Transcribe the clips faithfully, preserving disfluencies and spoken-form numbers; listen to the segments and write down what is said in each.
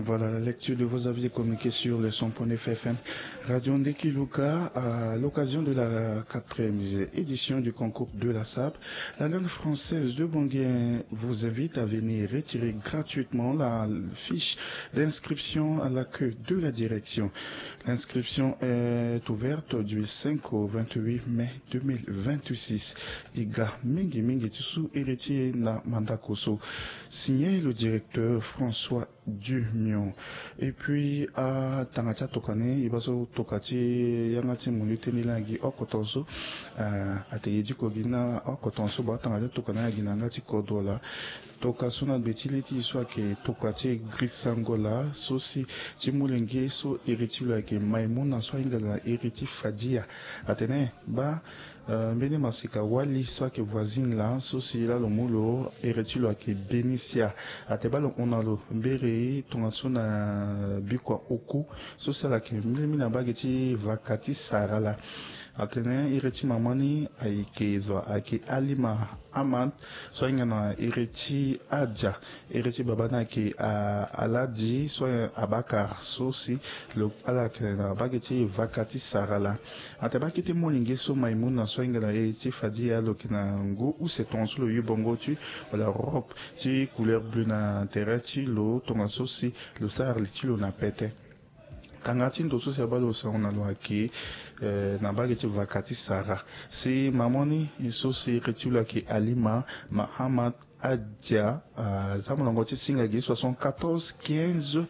Voilà la lecture de vos avis et communiqués sur le cent point neuf F M Radio Ndeki Luka à l'occasion de la quatrième édition du concours de la sape. La langue française de Bangui vous invite à venir retirer gratuitement la fiche d'inscription à l'accueil de la direction. L'inscription est ouverte du cinq au vingt-huit mai deux mille vingt-six. E ga mingi mingi ti su e retirer na mandako so. Signé le directeur François Dumion. Et puis atanga ti atoka ni e baa so toka ti yanga ti mundu ti tene laa gi oko tongaso. Ate e diko gi na oko tongaso baa atanga ti atoka ni agi na yanga ti kodro laa. Toka so na gbe ti le ti e so ayeke toka ti e grisango laa so si ti molenge so iri ti lo ayeke Maimouna so ahinga na iri ti Fadia. Atene baa mbeni masika wali so ayeke voisine laa so si laa lo mu lo iri ti lo ayeke Benicia. Ate baa lo hon na lo mberi tongaso na bikua oku so si ala yeke mbeni mbeni na mbage ti vaka ti sara laa. Atene iri ti mama ni ayeke zo ayeke Alima Amad so ahinga na iri ti Adia. Iri ti baba ni ayeke Aladi so Abakar so si lo ala yeke na mbage ti vaka ti sara laa. Ate baa kete molenge so Maimouna so ahinga na iri ti Fadia lo yeke na ngu use tongaso lo yu bongo ti wala robe ti couleur bleu na tere ti lo tongaso si lo sara li ti lo na pete. Tanga ti ndo so si abaa lo sango na lo ayeke na mbage ti vaka ti sara. Si mama ni so si iri ti lo ayeke Alima Mahamad Adia. Aza molongo ti singa gi soixante-quatorze quinze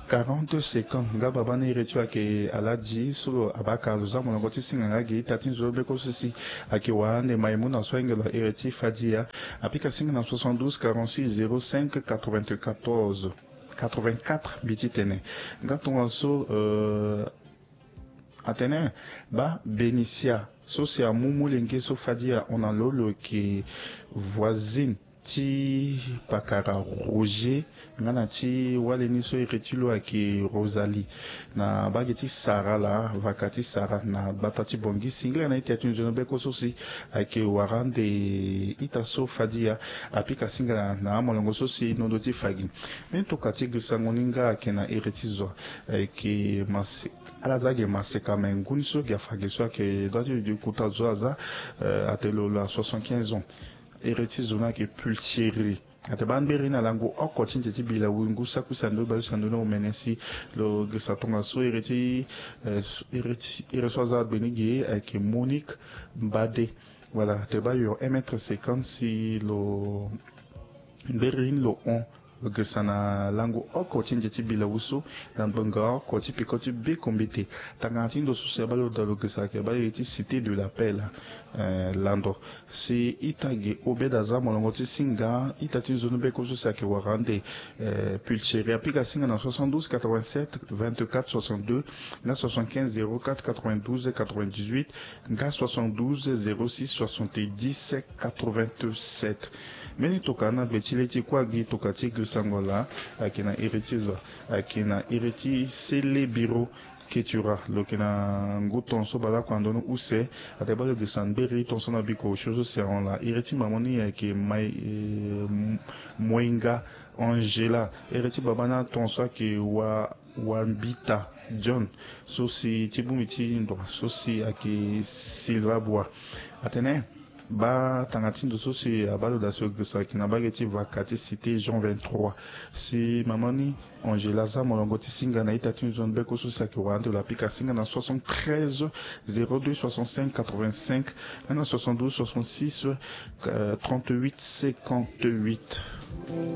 quarante cinquante. Nga baba ni iri ti lo ayeke Aladi so lo Abakar lo za molongo ti singa nga gi ita ti nzoni beko so si ayeke wara ande Maimouna so ahinga lo iri ti Fadia. Apika singa na soixante-douze quarante-six zéro cinq quatre-vingt-quatorze quatre-vingt-quatre mbi ti tene. Nga tongaso atene baa Benicia so si amu molenge so Fadia ahon na lo lo yeke voisine ti pakara Roger nga na ti wali ni so iri ti lo ayeke Rosalie. Na mbage ti sara laa vaka ti sara na gbata ti Bangui singila na ita ti nzoni beko so si ayeke wara ande ita so Fadia apika singa na amolongo so si nondo ti fa gi. Mbeni toka ti grisango ni nga ayeke na iri ti zo ayeke maseka. Ala za gi maseka me ngu ni so gi afa gi so ayeke dua ti di kota zo aza ate lo lo na soixante-quinze ans. Iri ti zo ni ayeke Pultieri. Ate baa mberi na lango oko ti nze ti bilawu ngu saki use na ndoni bale use na ndoni omene si lo girisa tongaso iri ti iri so aza gbeni ge ayeke Monique Mbade. Wala ate baa yo un mètre cinquante si lo mberi ni lo hon. Lo girisa na lango oko ti nze ti bilawu so na ngbonga oko ti peko ti beko mbete. Tangana ti ndo so si abaa lo daa lo girisa ayeke baa iri ti Cité de la Paix laa. Lando si ita ge obeda aza molongo ti singa ita ti nzoni beko so si ayeke wara ande Pultieri apika singa na soixante-douze quatre-vingt-sept vingt-quatre soixante-deux nga soixante-quinze zéro quatre quatre-vingt-douze quatre-vingt-dix-huit nga soixante-douze zéro six soixante-dix quatre-vingt-sept. Mbeni toka na gbe ti le ti kue agi toka ti grisango laa ayeke na iri ti zo ayeke na iri ti sele biro. Ketura lo yeke na ngu tongaso baleoko na ndoni use. Ate baa lo girisa mberi tongaso na biko osio so si ahon laa iri ti mama ni ayeke mai moinga Angela. Iri ti baba ni atongaso ayeke wa wambita John so si ti bongbi ti ndo so si ayeke Silva Bua. Atene baa tanga ti ndo so si abaa lo daa si lo girisa ayeke na mbage ti vaka ti Cité Jean vingt-trois. Si mama ni Angela aza molongo ti singa na ita ti nzoni beko so si ayeke wara ande lo apika singa na soixante-treize zéro deux soixante-cinq quatre-vingt-cinq nga na soixante-douze soixante-six trente-huit cinquante-huit.